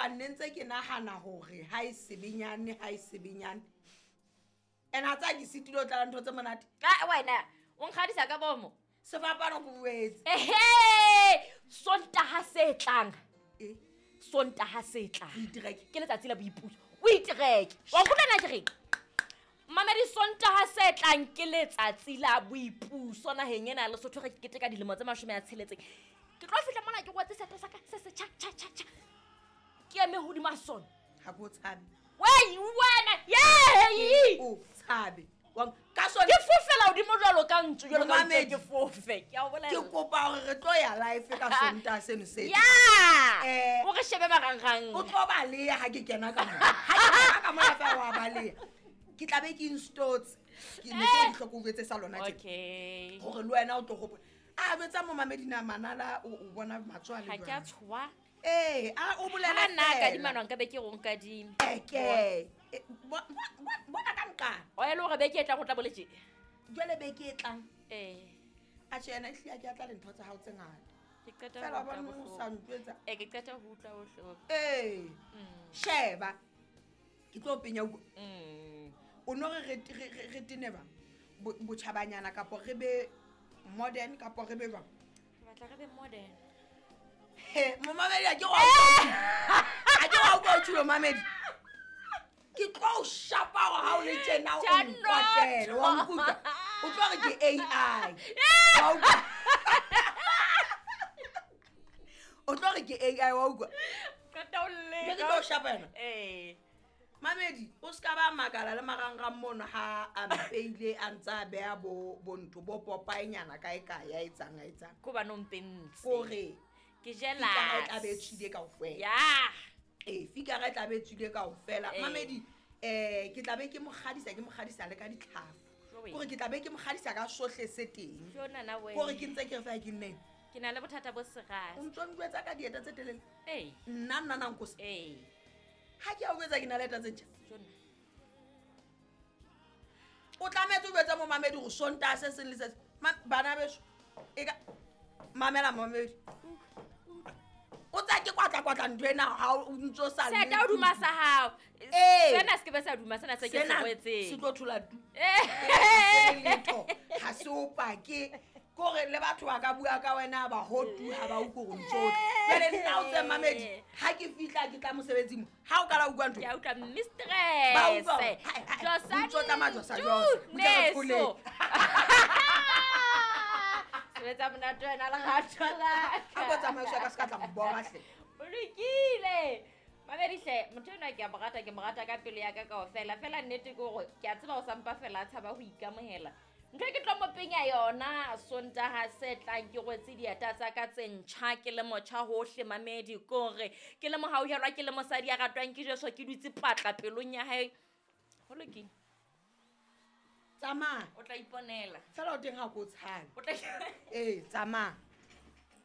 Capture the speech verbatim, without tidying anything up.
Hobane ne ntse ke nahana hore ha e sebenyane, ha e sebenyane. And ha tsa ke sitile ho tlala ntho tse monate. Ka wena o nkgadisa ka bomo. Sefapano ke boetse. Ehe, Sontaha se tlang. E? Sontaha se tlang. O itereke. Ke letsatsi la boipuso. O itereke. Wa nkutlwa na ke reng? Mamedi, Sontaha se tlang ke letsatsi la boipuso naheng ena ya Lesotho, re keteka dilemo tse mashome a tsheletseng. Ke tlo fihla mona ke rwetse seaparo sa ka se se tjha, tjha, tjha, tjha. Ke eme hodima sona. Ha ke o tshabe. Wei, wena, yey! O tshabe. Wa ka sona. Ke fofela hodimo jwalo ka ntsu, jwalo ka ntsu Momamedi, ke fofe. Ke a o bolella. Ke kopa hore re tlo ya live ka Sontaha seno se. Ya! Eh, O re shebe marangrang. O tlo baleha ha ke kena ka mona. Ha ke kena ka mona feela wa baleha. Ke tla be ke installetse. Ke ne ke Eh. di hloko o jwetse sa lona tje. Okay. Hore le wena o tlo hopola. A jwetsa momamedi na manala o, o bona matsoho a le Ha ke a jwang? tshoha. Ee, a o bolela Ha nna feela. kadima nwa nka be ke re o nkadime. Eke. E, bo-, bo-, bo-, bona ka nqane. O e le hore beke e tlang o tla boletse. Jwale beke e tlang. Eh. Atjhe, yena ehlile ha ke a tla le ntho tsa hao tse ngata. Ke qeta Feela ho utlwa bona o bohloko. sa ntjwetsa. Eh, ke qeta ho utlwa bohloko. Ee. Mm. Sheba. Ke tlo penya utlwa. Mm. O no re re, re, re, re tene ba? Bo-, botjhabanyana kapo re be modern kapo re be jwang? Ke batla re be modern. He, momamedi, ha ke wa utlwa. Ha ke wa utlwa o tjholo, momamedi. Ke tlo o shapa hore ha o le tjena o Tjano. nkwatele, wa nkutlwa? O tlo re ke A I. Wa utlwa? O tlo re ke A I, wa utlwa? Qeta o leka. Ke tlo o shapa yena? Ee. Mamedi, o ska ba makala le marangrang mono ha a mpeile a ntse a beha bo, bo ntho, bo popaenyana kae kae, ya etsang, ya etsang. Ko bana o mpentse. Kore Ke fikara e tla be e jealous. tswile kaofela. Ya. Ee, fikara e tla be e tswile kaofela. Ee. Mamedi, eh, ke tla be ke mo kgadisa, ke mo kgadisa le ka ditlhafu. Jowe. Kore ke tla be ke mo kgadisa ka sohle se teng. Jo, nana we. Kore ke ntse ke re feela ke nneng. Ke na le bothata bo serious. O ntso njwetsa ka dieta tse telele? Ee. Nna, nna, nna nkosi. Ee. Ha ke a o jwetsa ke na le dieta tse ntjha. Jo, nna. O tlametse o jwetse momamedi hore Sontaha se seng le se seng. Ma-, bana beso, e ka mamela momamedi. O tsa ke kwatla kwatla ntho ena ha o ntso sa le Seta o duma sa hao. Ee. Sena se ke be sa duma, sena se ke se Sena rwetseng. se tlo thola tu. Eh. Ee, letho. Ha se o pake. Kore le batho ba ka bua ka wena ba ho tu ha ba utlwe hore ntso o tla. Jwale nna o tse mamedi, ha ke fihla ke tla mosebetsing mo, ha o kala utlwa ntho. Ke a utlwa mistress. Ba utlwa hore, hai, hai, Josa ntso tsamaya josa, ntu, josa. Butle re thole. neso. Sebetsa monate wena lerato la ka. Ha ko tsamaiswa ka se ka tla mbora hle. O lokile. Mamedi hle, motho enwa ke a mo rata, ke mo rata ka pelo ya ka kaofela. Feela nnete ke hore ke a tseba o sa mpa fela a tshaba ho ikamohela. Ntho e ke tlo mo penya yona Sontaha se tlang ke rwetse dieta tsa ka tse ntjha, ke le motjha hohle mamedi, kore ke le mohauhelwa, ke le mosadi ya ratwang ke Jesu, ke dutse patla pelong ya hae. Ho lokile. Tsamaya. O tla iponela. Feela o teng ha ko tshabe. O tla Ee, tsamaya.